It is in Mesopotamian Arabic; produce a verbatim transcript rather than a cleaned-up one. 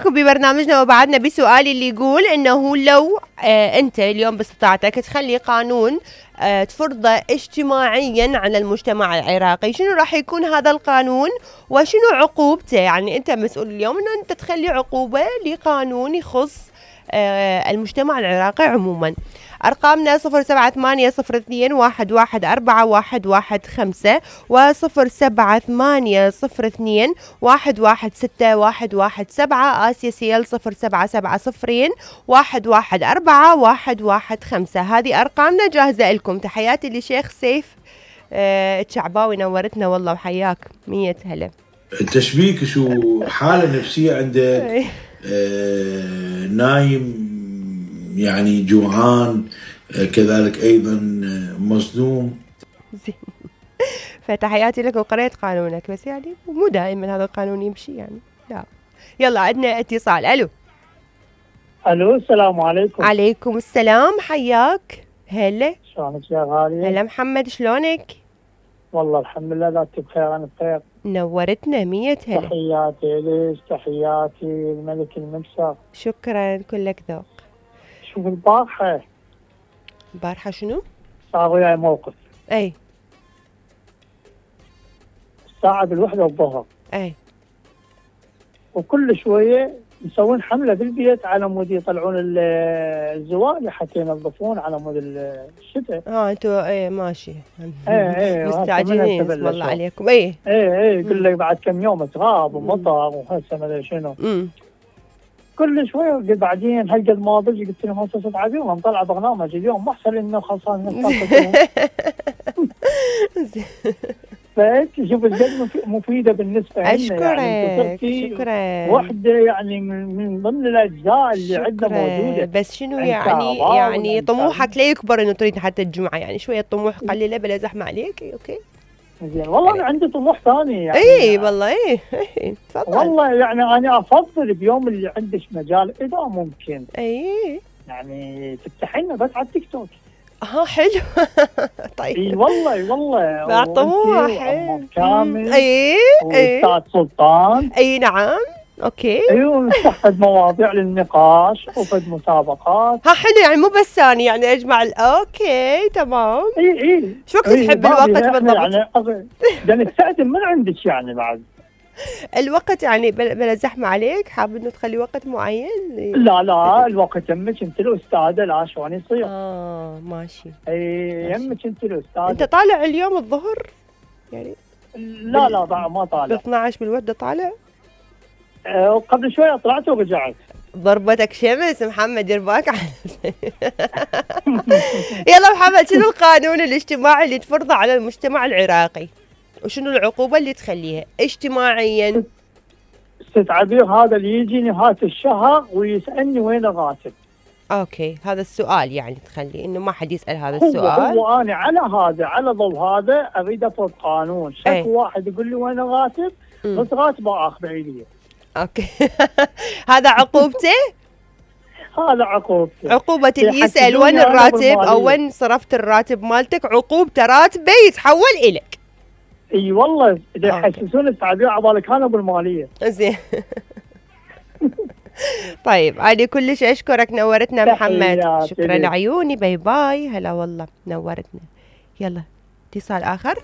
معاكم ببرنامجنا وبعدنا بسؤالي اللي يقول انه لو آه انت اليوم باستطاعتك تخلي قانون آه تفرضه اجتماعيا على المجتمع العراقي، شنو راح يكون هذا القانون وشنو عقوبته؟ يعني انت مسؤول اليوم انه انت تخلي عقوبة لقانون يخص آه المجتمع العراقي عموما. أرقامنا صفر سبعة ثمانية صفر اثنين واحد واحد أربعة واحد واحد خمسة وصفر سبعة ثمانية صفر اثنين واحد واحد ستة واحد واحد سبعة. آسيا سيل صفر سبعة سبعة صفرين واحد واحد أربعة واحد واحد خمسة. هذه أرقامنا جاهزة لكم. تحياتي لشيخ سيف آه الشعباوي، نورتنا والله وحياك. مية هلا. التشبيك شو حالة نفسية عندك؟ آه نايم يعني جوعان، كذلك أيضا مصدوم. زين. فتحياتي لك وقرأت قانونك، بس يعني مو دائما هذا القانون يمشي يعني. لا يلا عندنا اتصال. ألو ألو السلام عليكم. عليكم السلام، حياك. هلا شلونك يا غالية؟ هلا محمد، شلونك؟ والله الحمد لله ذاتك بخير. أنا بخير. نورتنا. مية هلا. تحياتي ليش، تحياتي الملك المكسر. شكرا، كلك ذوق. شوف البارحة البارحة شنو؟ صار وياي موقف. اي الساعة بالوحدة الظهر. اي وكل شوية مسوين حملة بالبيت على مود يطلعون الزوال حتى ينظفون على مود الشتاء. اه انتوا ايه ماشي. ايه ايه مستعجلين اسم الله عليكم. ايه ايه ايه يقول لك بعد كم يوم تراب ومطر وهسه ما ادري شنو. امم كل شويه قلت بعدين هالقد ما ضج قلت لهم هسه ست عبير مطلع برنامج اليوم ما احسن انه خلصان. فانت شوف الجد مفيده بالنسبه لنا. اشكرك يعني شكرا. وحده يعني من ضمن الاجزاء اللي عندنا موجوده. بس شنو يعني يعني طموحك لا يكبر انه تريد حتى الجمعه، يعني شويه طموح قليله بلا زحمه عليك. اوكي زين والله انا عندي طموح ثاني يعني. اي والله اي اي تفضل. والله يعني انا افضل بيوم اللي عندك مجال اذا ممكن اي يعني تفتحي لنا بس على التيك توك. اه حلو. طيب اي والله والله بعد طموح كامل. اي اي واستاذ سلطان. اي نعم اوكي. ايوه نفتح مواضيع للنقاش وفد مسابقات. ها حلو يعني مو بس ثاني يعني اجمع. اوكي تمام. اي اي شو وقت تحب الوقت بالضبط؟ يعني بدنا نستخدم من عندك يعني بعد الوقت يعني بلا زحمه عليك، حاب انه تخلي وقت معين؟ لا لا الوقت يمك انت الاستاذه، لا شلون يصير؟ اه ماشي. اي يمك انت الاستاذه. انت طالع اليوم الظهر يعني؟ لا لا بال... ما طالع. ب اثنعش بالوحده طالع؟ أه قبل شويه طلعت ورجعت. ضربتك شمس محمد، يرباك على يلا محمد، شنو القانون الاجتماعي اللي تفرضه على المجتمع العراقي وشنو العقوبة اللي تخليها اجتماعيا؟ ست عبير هذا اللي يجي نهاية الشهر ويسألني وين الراتب. اوكي هذا السؤال يعني تخلي انه ما حد يسأل هذا السؤال. هو انا على هذا على ضوء هذا اريد افرض قانون شك ايه؟ واحد يقول لي وين الراتب بس راتبه اخذ عيديه. اوكي هذا عقوبته؟ هذا عقوبته. عقوبة اللي يسأل وين الراتب او وين صرفت الراتب مالتك، عقوبته راتبه يتحول الك. اي والله اذا يحسسون التعبير عبالك انا بالماليه. زين. طيب انا كلش اشكرك، نورتنا محمد. شكرا لعيوني، باي باي. هلا والله نورتنا. يلا اتصال اخر.